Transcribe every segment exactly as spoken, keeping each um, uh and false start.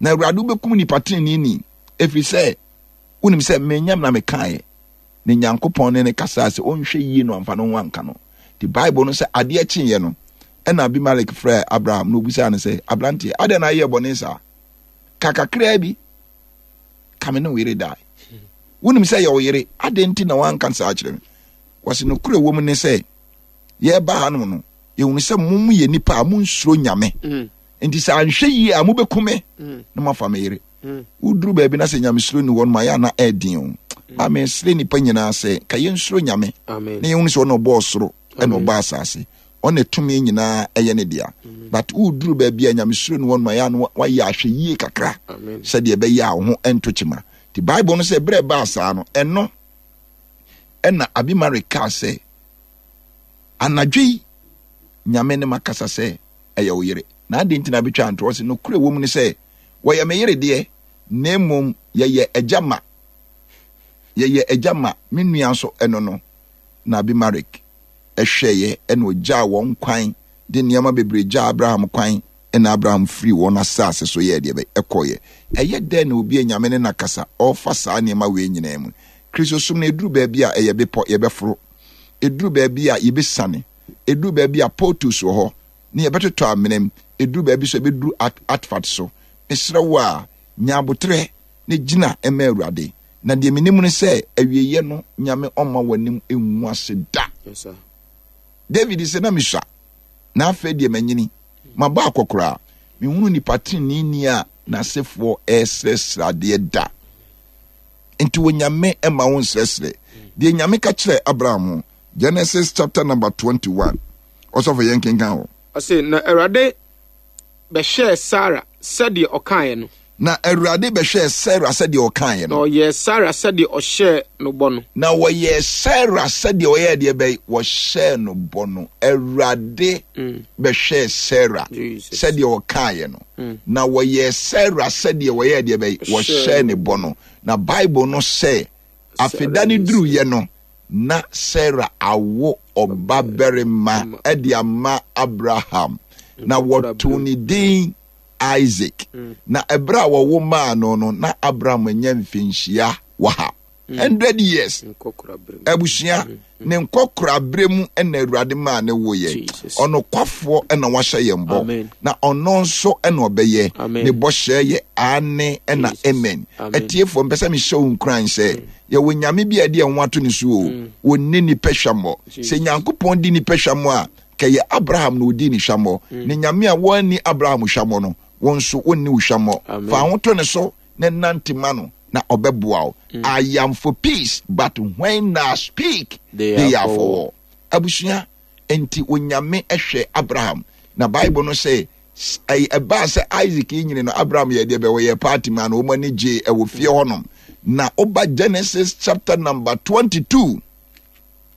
Na Awurade, wobɛkum nipa teneneeni, ɛfiri sɛ wonim sɛ menyam na mekaeɛ. Na Nyankopɔn ne ne kasaa sɛ ɔnhwɛ yie no amfa no ho anka no. Nti Bible no sɛ adeɛ kyeeɛ no, ɛna Abimelek frɛɛ Abraham na ɔbisaa no sɛ, aberanteɛ, adɛn na ayɛ bɔne saa? Ka kakraa bi, ka me ne wo yere dae. Wonim sɛ yɛ wo yere, adɛn nti na woanka saa kyerɛ me? Wɔse nokorɛ wɔ mu ne sɛ, yɛreba hanom no, yɛhunu sɛ mo yɛ nnipa a monsuro Nyame. Mm. Nti sɛ anhwɛ yie a mobɛku me mm. na moafa me yere. Mm. Woduru baabi na sɛ nyamesuro ni hɔ no ma yɛ ana ɛden o. Ma mesrɛ nnipa nyinaa sɛ ka yɛnsuro Nyame na yɛhunu sɛ ɔna ɔbɔɔ soro ɛna ɔbɔ asase, ɔna tumi nyinaa ɛyɛ ne dea. But woduru baabi a nyamesuro ni hɔ no ma yɛ ana wayɛ ahwɛ yie kakra sɛdeɛ ɛbɛyɛ a wo ho ɛnto kyema. Nti Bible no sɛ berɛ ɛbaa saa no, ɛno ɛna Abimelek kaa sɛ, anadwo yi Nyame ne makasa sɛ ɛyɛ wo yere, na adɛn nti na abɛtwa ntorɔ? Sɛ nokorɛ wɔ mu ne sɛ wɔyɛ me yere deɛ, na mmom yɛyɛ agya ma yɛyɛ agya ma me nua nso ɛno no. Na Abimelek ɛhwɛeɛ ɛna ɔgyaa wɔn kwan de nneɛma bebree gyaa Abraham kwan, ɛna Abraham firi wɔn asase so yɛɛ deɛ bɛ ɛkɔeɛ. Ɛyɛ dɛn na obi a Nyame ne nakasa ɔrefa saa nneɛma wei nyinaa mu? Kristosom no ɛduru baabi a ɛyɛ bepɔ yɛbɛforo, ɛduru baabi a yɛbɛsiane, ɛduru baabi a portals wɔ hɔ ne yɛbɛtotɔ amena mu, ɛduru baabi so ɛbɛduru atfat so. Mesrɛ wo a, nya abotrɛ ne gyina ma Awurade. Na deɛ menim ne sɛ awieeɛ no Nyame ɔmma w'anim ngu ase da. Yes, sir. David sɛ na mesua, na afei deɛ manyini, mabɔ akɔkoraa, mehunu nipa teneneeni a n'asefoɔ ɛresrɛsrɛ adeɛ da. Nti wɔ Nyame ɛma wo nsrɛsrɛ. Deɛ Nyame ka kyerɛ Abraham ho, Genesis chapter number twenty-one. Ɔsɔfo yɛn kenkan hɔ. Ɔse, na Awurade bɛhwɛɛ Sara sɛdeɛ ɔkaeɛ no. Na Awurade bɛhwɛɛ Sara sɛdeɛ ɔkaeɛ no. Na ɔyɛɛ Sara sɛdeɛ ɔhyɛɛ no bɔ no. Na wɔyɛɛ Sara sɛdeɛ ɔyɛɛ deɛ bɛyi, wɔhyɛɛ no bɔ no. Awurade Mm. bɛhwɛɛ Sara Jesus. sɛdeɛ ɔkaeɛ no. Mm. Na wɔyɛɛ Sara sɛdeɛ wɔyɛɛ deɛ bɛyi, wɔhyɛɛ ne bɔ no. Na Bible no sɛ, afeda no duruyɛ no, na Sara awo ɔbabarima de ama Abraham. Na wɔtoo ne din Isaac. Na ɛberɛ a wɔwo maa no no, na Abraham anya mfinhyia waha. Hundred years. Abusua, ne nkɔkora berɛ mu na Awurade maa ne woyɛ. Ɔnokwafoɔ na wahyɛ yɛn bɔ. Na ɔno nso na ɔbɛyɛ. Ne bɔhyɛ yɛ aane na amen. Atiefoɔ, mpɛ sɛ mehyɛ wo nkuran sɛ yɛwɔ Nyame bi a ɛde ɛho ato ne so o. Wɔnni nipa hwammɔ. Sɛ Nyankopɔn di nipa hwammɔ a, kɛyɛ Abraham na ɔdii ne hwammɔ. Ne Nyame a wɔanni Abraham hwammɔ no, wɔn nso wɔnni wo hwammɔ. Fa ho to ne so na nante ma no, na ɔbɛboa wo. I am for peace, but when I speak, they, they are for war. Abusua, enti Onyame hwɛ Abraham. Na Bible no sɛ, ɛbaa sɛ Isaac yi nyini no, Abraham yɛ deɛ bɛ wɔyɛ party ma no, wɔn ani gye ɛwɔ fie hɔnom. Na ɔba Genesis chapter number twenty-two.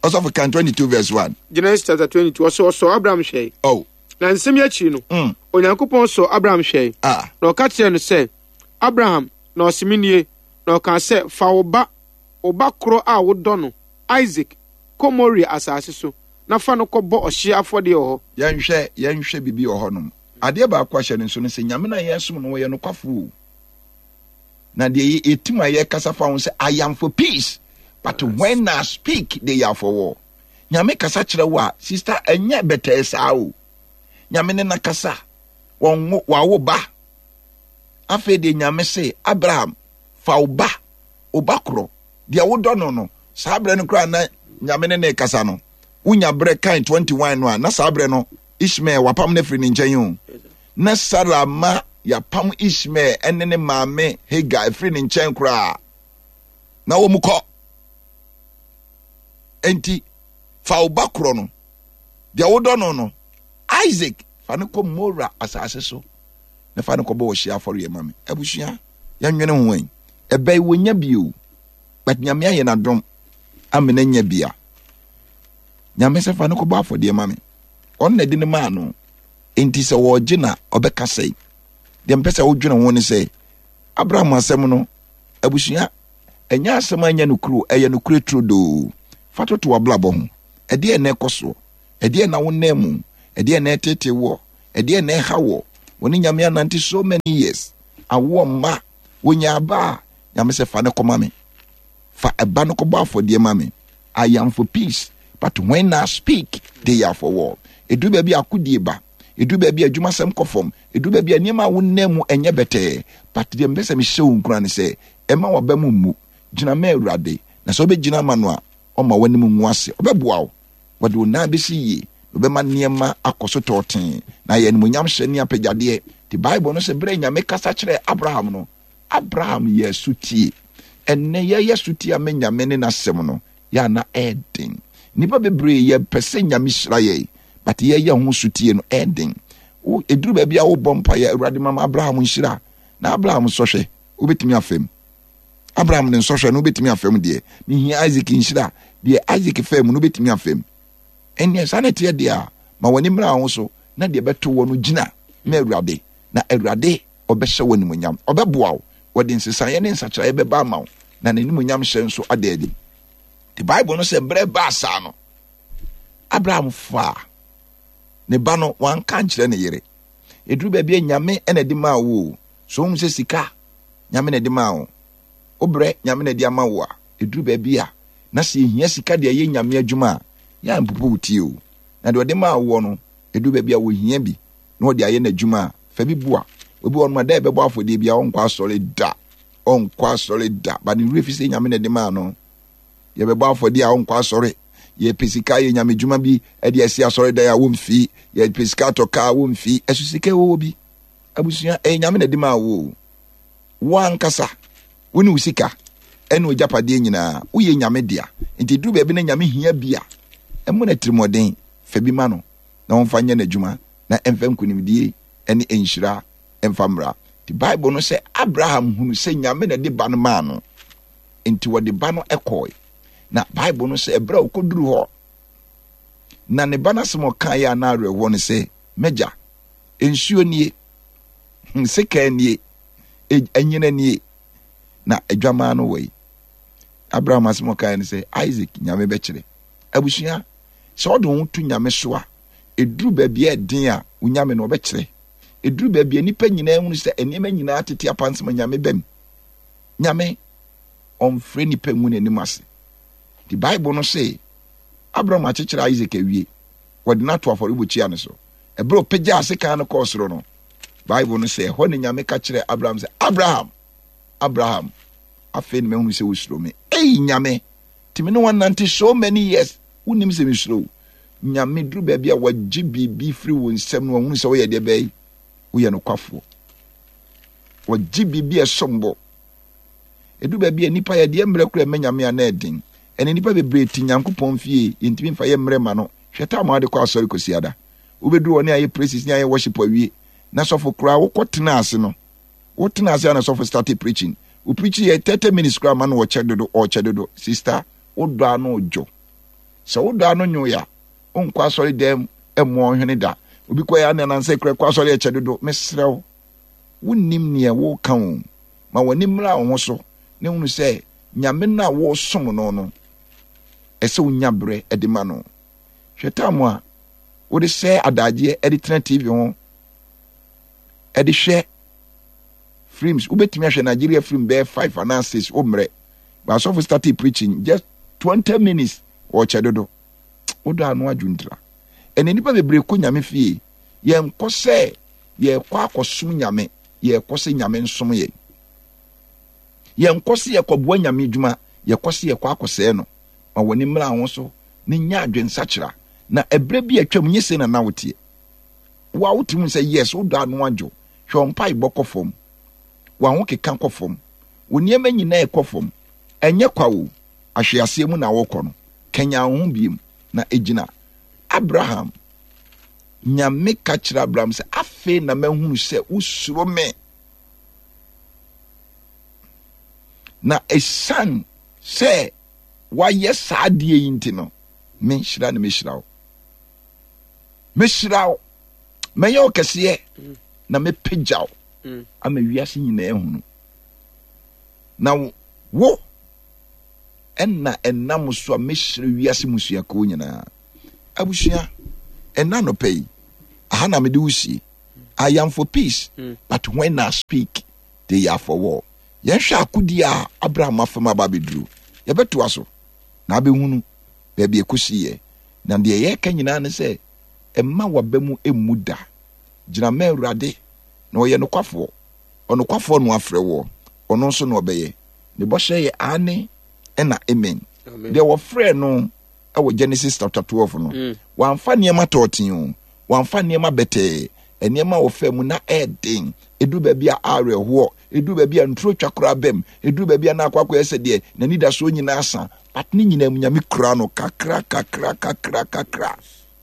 Ɔsɔfo kan twenty-two verse one. Genesis chapter twenty-two, ɔsɔ ɔsɔ Abraham hwɛe. Oh. Na nsɛm yi akyiri no, Mm. Onyankopɔn sɔ Abraham hwɛe. Ah. Na ɔka kyerɛɛ no sɛ, Abraham, na ɔse me nie. Na ɔkaa sɛ, fa wo ba, wo ba korɔ a wodɔ no, Isaac, kɔ Moria asase so, na fa no kɔbɔ ɔhyeɛ afɔdeɛ wɔ hɔ. Yɛnhwɛ, yɛnhwɛ biribi wɔ hɔnom. Adeɛ baako ahyɛ no nso no sɛ Nyame no a yɛsom no, wɔyɛ nokwafo o. Na deɛ yɛtim a yɛkasa fa ho sɛ, I am for peace, but when I speak, they are for war. Nyame kasa kyerɛ wo a, sister, ɛnyɛ bɛtɛɛ saa o. Nyame ne nakasa, wɔnwo, wawo ba. Afei deɛ Nyame se, Abraham, fa wo ba, wo ba korɔ, deɛ wodɔ no no. Saa berɛ no koraa na Nyame ne ne kasa no. Wonya berɛ kan twenty-one no a, na saa berɛ no, Ishmael wapam no afiri ne nkyɛn o. Na Sarah ma yapam Ishmael ne ne maame Hagar afiri ne nkyɛn koraa. Na wɔn kɔ. Enti, fa wo ba korɔ no, deɛ wodɔ no no, Isaac, fa no kɔ Moria asase so, na fa no kɔbɔ ɔhyeɛ afɔreɛ ma me. Abusua, yɛnwene ho ɛ. Ɛbɛyi wɔnya bi o, but Nyame ayɛ n'adom amena nya bi a. Nyame sɛ fa no kɔbɔ afɔdeɛ ma me. Ɔno na ɛde no maa no. Enti sɛ wɔregye na ɔbɛka sɛ, deɛ mpɛ sɛ wodwene ho ne sɛ, Abraham asɛm no, abusua, ɛnyɛ asɛm a ɛnyɛ nokorɛ, ɛyɛ nokorɛ turodoo. Fa toto w'abrabɔ ho. Ɛdeɛn na ɛkɔ soɔ? Ɛdeɛn na wonam mu? Ɛdeɛn na ɛtete woɔ? Ɛdeɛn na ɛha woɔ? Wo ne Nyame anante so many years. Awoɔ mma. Wɔnya aba a, Nyame sɛ fa no kɔma me. Fa ɛba no kɔbɔ afɔdeɛ ma me. I am for peace, but when I speak, they are for war. Ɛduru baabi a akodie ba. Ɛduru baabi a adwumasɛm kɔ fam. Ɛduru baabi a nneɛma a wonam mu ɛnyɛ bɛtɛɛ. But deɛ mepɛ sɛ mehyɛ wo nkuran ne sɛ, ɛma w'aba mu mmu. Gyina ma Awurade. Na sɛ wobɛgyina ama no a, ɔmma w'anim ngu ase. Ɔbɛboa wo. Wɔde wo nan bɛsi yie, na ɔbɛma nneɛma akɔ so tɔɔtee, na ayɛ animuonyamhyɛ ne apagyadeɛ. Nti Bible no sɛ berɛ a Nyame kasa kyerɛɛ Abraham no, Abraham yɛɛ sotie. Ɛnnɛ yɛyɛ sotie ama Nyame ne n'asɛm no, yɛ a na ɛɛden. Nnipa bebree yɛpɛ sɛ Nyame hyira yɛn, but yɛyɛ ho sotie no ɛɛden. Wo, ɛduru baabi a wobɔ mpaeɛ, Awurade ma ma Abraham nhyira. Na Abraham sɔhwɛ, wobɛtumi afam. Abraham ne nsɔhwɛ no wobɛtumi afam deɛ. Mehia Isaac nhyira, deɛ Isaac faa mu no wobɛtumi afam. Ɛnneɛ saa na ɛteɛ deɛ a, ma w'ani mmra wo ho so na deɛ ɛbɛto wɔ no gyina ma Awurade, na Awurade ɔbɛhyɛ wo animuonyam. Ɔbɛboa wo, wɔde nsesaeɛ ne nsakyeraeɛ bɛba ama wo, na n'animuonyam hyɛ nso ada adi. The Bible no sɛ berɛ baa saa no, Abraham faa ne ba no, wanka nkyerɛ ne yere. Ɛduru baabi a Nyame na ɛde maa wo o. So wohu sɛ sika Nyame na ɛde maa wo? Wo brɛ Nyame na ɛde ama wo a, ɛduru baabi a na sɛ yɛhia sika de ayɛ Nyame adwuma a, yɛ a mpopo wo ti o. Na deɛ ɔde maa woɔ no, ɛduru baabi a wɔhia bi na ɔde ayɛ n'adwuma a, fa bi boa. Obi wɔ hɔnom a, da a yɛbɛbɔ afɔdeɛ biara, ɔnkɔ asɔre da. Ɔnkɔ asɔre da. Ba ne werɛ fi sɛ Nyame na ɛde maa no. Yɛbɛbɔ afɔdeɛ a, ɔnkɔ asɔre. Yɛpɛ sika ayɛ Nyame dwuma bi de asi asɔredan a, wɔmfi. Yɛpɛ sika atɔ kaa a, wɔmfi. Ɛso sika ɛwɔ hɔ bi. Abusua, ɛyɛ Nyame na ɛde maa wo o. Wo ankasa, wo ne wo sika ɛne w'agyapadeɛ nyinaa, woyɛ Nyame dea. Nti ɛduru baabi na Nyame hia bi a, ɛmmɔ no atirimuɔden, fa bi ma no na ɔmfa nyɛ n'adwuma na ɛmfa nkunimdie ne nhyira mfa mmra. Nti Bible no sɛ Abraham hunu sɛ Nyame na ɛde ba no maa no, nti wɔde ba no kɔe. Na Bible no sɛ ɛberɛ a ɔkɔduru hɔ, na ne ba no asɛm ɔkaeɛ a na awerɛhoɔ no sɛ, M'agya, nsuo nie, hmm, sekan nie, anyina nie, na adwamaa no wɔ yi. Abraham asɛm ɔkaeɛ no sɛ, Isaac, Nyame bɛkyerɛ. Abusua, sɛ ɔde wo ho to Nyame so a, ɛduru baabi a ɛden a, wo Nyame no ɔbɛkyerɛ. Ɛduru baabi a nnipa nyinaa hunu sɛ nneɛma nyinaa tete apansam a, Nyame bam. Nyame, ɔmfrɛ nnipa ngu n'anim ase. Nti Bible no se, Abraham akyekyere Isaac awie, wɔde no ato afɔrebukyia no so. Ɛberɛ a ɔpagyaa sekan no kɔɔ soro no, Bible no sɛ ɛhɔ ne Nyame ka kyerɛɛ Abraham sɛ, Abraham, Abraham, afei na mahunu sɛ wosuro me. Ei, Nyame, nti me ne wɔnante so many years, wonim sɛ mesuro wo. Nyame duru baabi a wɔgye biribi firi wo nsam no, wɔhunu sɛ woyɛ deɛ bɛyi, woyɛ nokwafoɔ. Wɔgye biribi a ɛsom bo. Ɛduru baabi a nnipa yɛ deɛ mmerɛ kora ɛmɛ Nyame a na ɛden. Ɛne nnipa bebree te Nyankopɔn fie, yɛntumi mfa yɛ mmerɛ ma no. Hwɛ tam a wode kɔ asɔre kɔsi ada. Wobɛduru hɔ ne ayɛ praises ne ayɛ worship awie. Na sɔfo koraa wokɔ tena ase no, wotena ase a na sɔfo start preaching. Wo preaching yɛ thirty minutes koraa ma no ɔkyɛ dodo, ɔkyɛ dodo. Sister, wodɔ ano dwo. Sɛ wodɔ ano nwo ya, wonkɔ asɔre dɛm mmoa ɔhwene da. Obi kɔ ya ne anansɛ kura kɔ asɔre ɛkyɛ dodo. Mesrɛ wo, wonnim neɛ woka o. Ma w'ani mmra wo ho so na hunu sɛ Nyame no a wosom no no, ɛsɛ wonya berɛ de ma no. Hwɛ tam a wode sɛ adagyeɛ de tena T V ho de hwɛ films. Wobɛtumi ahwɛ Nigeria film bɛyɛ five anaa six, wo mmerɛ. But asɔfo started preaching just twenty minutes, wɔkyɛ dodo. Wodɔ ano adwo ntira. Ɛnna nnipa bebree kɔ Nyame fie. Yɛnkɔ sɛ yɛkɔ akɔsom Nyame, yɛkɔ sɛ Nyame nsom yɛn. Yɛnkɔ sɛ yɛkɔboa Nyame adwuma, yɛkɔ sɛ yɛkɔ akɔsɛe no. Ma w'ani mmra ho so na nya adwensakyera. Na ɛberɛ bi a atwam nye sei na na woteɛ. Wo a wote mu sɛ yes, wodɔ ano adwo. Hwɛ wo mpaebɔ kɔ fam. W'ahokeka kɔ fam. Wo nneɛma nyinaa ɛkɔ fam. Ɛnyɛ kwa o, ahweaseɛ mu na wokɔ no. Kanyan wo ho biem na egyina. Abraham, Nyame ka kyerɛ Abraham sɛ, afei na mahunu sɛ wosuro me. Na ɛsiane sɛ wayɛ saa adeɛ yi nti no, me nhyira na mehyira wo. Mehyira wo, mɛyɛ wo kɛseɛ, na mɛpagya wo Mm. ama wiase nyinaa ahunu. Na wo ɛna ɛnam so a mɛhyira wiase mmusuakuo nyinaa. Abusua, ɛna anɔpa yi, aha na mede wo sie. I am for peace, Mm. but when I speak, They are for war. Yɛnhwɛ akodie a Abraham afam aba abɛduru. Yɛbɛtoa so na abɛhunu baabi ɛkɔsiiɛ. Na deɛ yɛreka nyinaa ne sɛ, mma w'aba mu mmu da. Gyina ma Awurade, na ɔyɛ nokwafoɔ. Ɔnokwafoɔ na wafrɛ woɔ, ɔno nso na ɔbɛyɛ. Ne bɔhyɛ yɛ aane ɛna amen. Deɛ wɔfrɛɛ no wɔ Genesis chapter twelve no, mm. wamfa nneɛma tɔɔten o, wamfa nneɛma bɛtɛɛ, nneɛma a wɔfaa mu na ɛɛden. Ɛduru baabi a awerɛhoɔ, ɛduru baabi a nturo twa koraa bam, ɛduru baabi a na akɔ akɔyɛ sɛ deɛ n'anidasoɔ nyinaa sa. But ne nyinaa mu Nyame kura no kakra kakra kakra kakra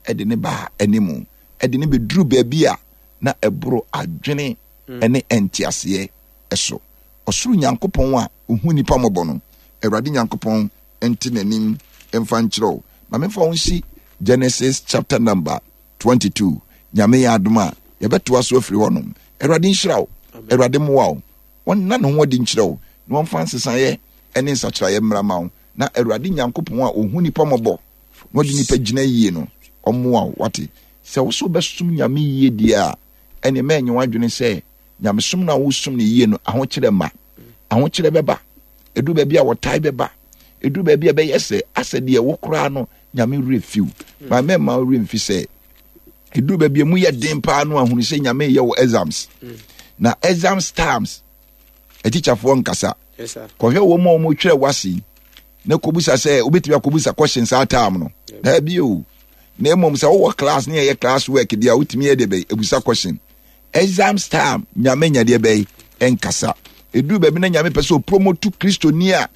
ɛde ne baa anim, ɛde ne bɛduru baabi a na ɛboro adwene mm. ne nteaseɛ so. Ɔsoro Nyankopɔn a ɔhu nnipa mmɔbɔ no, Awurade Nyankopɔn nte n'anim mfa nkyerɛ wo. Ma memfa wo nsi Genesis chapter number twenty-two. Nyame yɛ adom a, yɛbɛtoa so afiri hɔnom. Awurade nhyira wo. Awurade mmoa wo. Ɔnna ne ho adi nkyerɛ wo, na ɔmfa nsesaeɛ ne nsakyeraeɛ mmra ma wo. Na Awurade Nyankopɔn a ɔhu nnipa mmɔbɔ na ɔde nnipa gyina yie no, ɔmmoa wo. Wate? Sɛ wo so wobɛsom Nyame yie deɛ a, ɛneɛ mɛnyɛ w'adwene sɛ nyamesom no a wosom no yie no ahokyerɛ mma. Ahokyerɛ bɛba. Ɛduru baabi a wɔtae bɛba. Ɛduru baabi a ɛbɛyɛ sɛ asɛ deɛ wo koraa no Nyame werɛ fiw. Ma mɛmma wo werɛ mfi sɛ ɛduru baabi a mu yɛ den paa no ahunu sɛ Nyame yɛ wo exams. Na exams times atikyafoɔ nkasa. Kɔhwɛ wɔn a wɔtwerɛ wase na kɔbusa sɛ wobɛtumi akɔbusa question saa time no. Daabi o. Na mmom sɛ wowɔ class ne yɛyɛ class work deɛ a wotumi yɛ deɛ bɛyi ebusa question. Exams time Nyame nya deɛ bɛyi ɛnkasa. Ɛduru baabi na Nyame pɛ sɛ ɔpromotu Kristoni a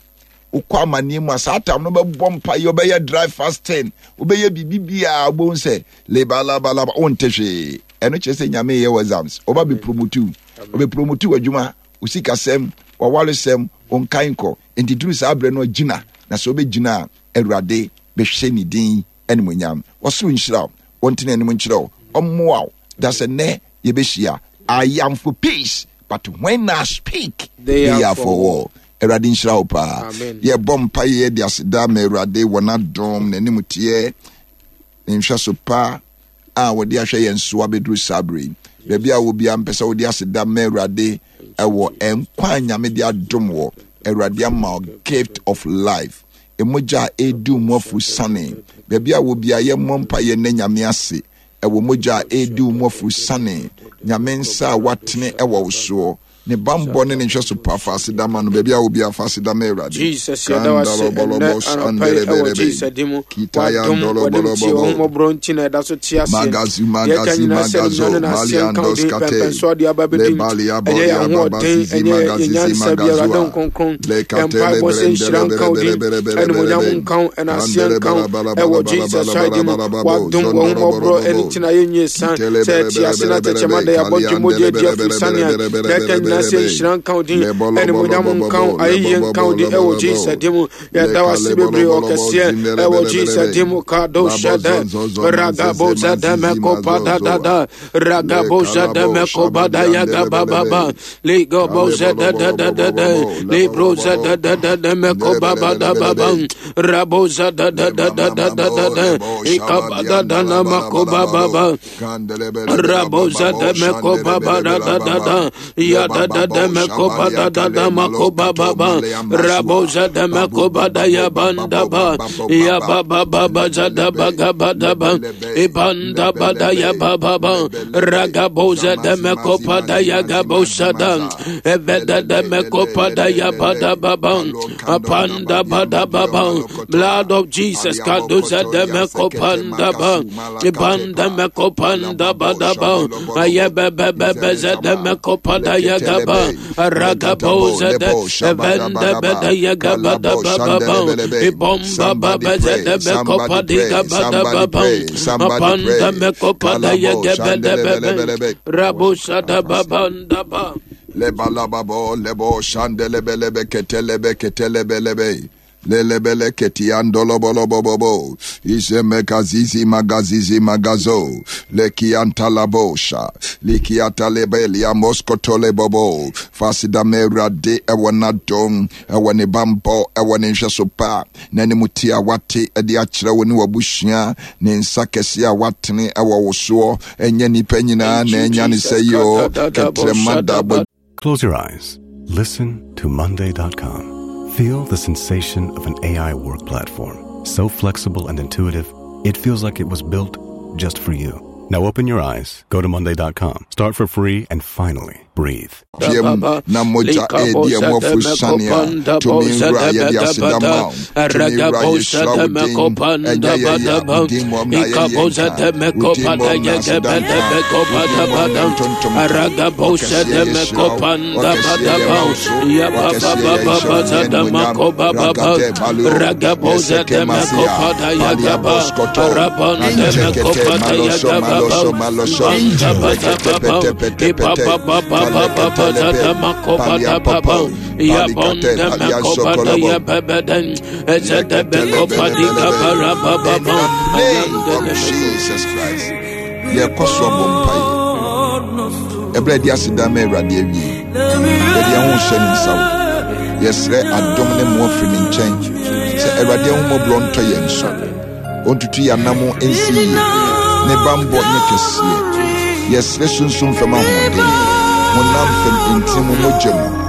wokɔ amanneɛ mu a saa tam no bɛbɔ mpa yɛ wobɛyɛ dry fasting wobɛyɛ biribi biaa wobɛhu sɛ lebalabalaba wonte hwee. Ɛno kyerɛ sɛ Nyame yɛ wɔ exams ɔba bɛpromotu ɔbɛpromotu w'adwuma, wo sikasɛm, w'awaresɛm, wo nkaenkɔ. Enti duru saa berɛ no gyina, na sɛ wobɛgyina a Awurade bɛhwɛ ne din animuonyam. Ɔsoro nhyira wo, ɔntene anim nkyerɛ wo, ɔmmoa wo. Da sɛ nnɛ yɛbɛhyia. I am for peace, but when I speak, they, they are for war. Awurade nhyira wo paa. Yɛbɔ mpa yɛ de aseda ma Awurade wɔ n'adom, n'anim teɛ, ne nhwɛso pa a wɔde ahwɛ yɛn so abɛduru saa bere yi. Baabi a wɔ biara mpɛ sɛ wode aseda ma Awurade ɛwɔ nkwa a Nyame de adom wɔ. Awurade ama gift of life. Mogya a ɛredi mu afuru sane. Baabi a wɔ biara yɛmmɔ mpa yɛ nnɛ Nyame ase. Ɛwɔ mogya a ɛredi mu afuru sane. Nyame nsa a watene ɛwɔ wo soɔ. Ne bammɔ ne ne nhwɛso pa fa aseda ma no. Baabi a wɔ biara fa aseda ma Awurade. Jesus, yɛda wo ase ɛnnɛ anɔpa yi ɛwɔ Jesus din mu. W'adom, w'anim tie, w'ahummɔborɔ nti na ɛda so te aseɛ. Magazu, Deɛ ɛka magazi, nyinaa sɛ magazo, animuonyam ne n'aseɛ nka wo din, maliandos kate, pɛmpɛnsoɔ de aba abɛdi mu. lebalia Ɛnyɛ yɛn bolia ahoɔden, babazizi, ɛnyɛ yɛn magazizi, nyansa bi, Awurade magazua, Nkronkron. Yɛn lekate mpaebɔ sɛ nhyira nka wo din, lebrendele animuonyam berebe, nka wo, ɛna aseɛ kandele nka wo, bala bala ɛwɔ bala bala Jesus bala Christ din mu. bala bala W'adom, w'ahummɔborɔ ɛno nti na yɛnyɛ san kitele sɛ bere ɛte bere ase na bere tɛkyɛma bere da yɛabɔ dwumogya kaliandele adi bere afiri bere sane a bere bere deɛ ɛka bere nyinaa bere sɛ bere nhyira nka wo din, lebolo bolo animuonyam bolo nka wo, bo ayɛyie lebo nka wo bo din lebo ɛwɔ bo Jesus din mu. Yɛda wo ase lekale bolo bebree bolo bo ɔkɛseɛ zindele ɛwɔ bere bere Jesus bere din mu. Kado labo shada zon zon zon ragabo manzeze zada manzizi meko pada da mazozoa da ragabo zada lekalabo meko bada yaga shabadiandele ba bele ba ba be ligo bo kale bolo zada da bolo da bo da bo da bo lebo libro bo zada bo da da da meko ndele ba bele ba bele da bele ba ba be rabo zada da le da da mama da da da mabo da lebo ikabada da shabadianda la na bala mako bala ba ba babo ba kandele bele bela baba Raboza bo de meko shandele baba bele da bela da da baba da le ya da baba da de bo meko ba da da shabaliata da le mako malo ba ba kato ba malea masua Raboza de babu meko ba da baba ya bo baba banda bo ba baba bo ya baba ba ba ba ba za da ba lebelebe ga ba da ba lebelebe ibanda ba da ya lebelebe ba ba ba lebelebe Ragaboza de zamazi meko mazi pa da mazi ya mazi ga bo mazi sa da maza eve da de lelele meko lele pa da lele ya ba da lele ba ba kalo kandonda apanda ba badia da ba madio ba malokotoa blood of Jesus Paliabo kaduza de kotoria meko sekete panda ba makasu ibanda malakatepa meko panda palababo ba da ba shabolobolobo ayebebebebeze de izelezaba meko pada yagaba leketelebe ragabo legatabo zede lebo evende bede shabadabadaba yagaba da kalabo ba ba ba shandelebelebe. ibomba Somebody babeze pray, de meko somebody padiga pray, ba da somebody ba ba pray, somebody apanda pray. meko pada Kalabo yagebe de bebe shandelebelebelebe. rabo sada babanda ba Lebalababo lebo shandelebelebe ketelebe ketelebelebe. Lelebele ketiandolobolobobo. Izemekazizi magazizi magazo. Lekiantalabosha. Likiatalebelia moskotolebobo. Fasidamera de ewanadom. Ewane bambo. Ewane nhwɛsopa. N'anim ti a wate de akyerɛ wo ne w'abusua. Ne nsa kɛse a watene ɛwɔ wo soɔ. Ɛnyɛ nnipa nyinaa Thank na you, ɛnya ne Jesus. sɛ yi o. Kadadadabo Kɛtrɛma da shadaba. Close your eyes. Listen to Monday dot com. Feel the sensation of an A I work platform. So flexible and intuitive, it feels like it was built just for you. Now open your eyes, go to Monday dot com, start for free, and finally breathe. Na moja edi emofu sania tumi nwura yɛde aseda ma wo tumi nwura yɛhyira wo din ɛnyɛ yɛyɛ wo din mmom na yɛyɛ nka wo din mmom na aseda nka wo din mmom na ntontom nka ɔkɛseɛ yɛhyira wo ɔkɛseɛ yɛma wo so ɔkɛseɛ yɛhyɛ wo din animuonyam ragate balio yɛsɛkɛ masia palia boskoto anjekete maloso maloso maloso rekete pete pete pete Jesus Christ. Yɛkɔ so abɔ mpaeɛ. Ɛberɛ a yɛde aseda ma Awurade awie, yɛde yɛn ho hyɛ ne nsa wo. Yɛsrɛ adom ne mmoa firi ne nkyɛn sɛ Awurade ahummɔborɔ ntɔ yɛn so. Ɔntutu yɛn anam nsi yie. Ne bammɔ nyɛ kɛseɛ. Yɛsrɛ sunsum fam ahoɔden, honam fam ntin mu mogya mu.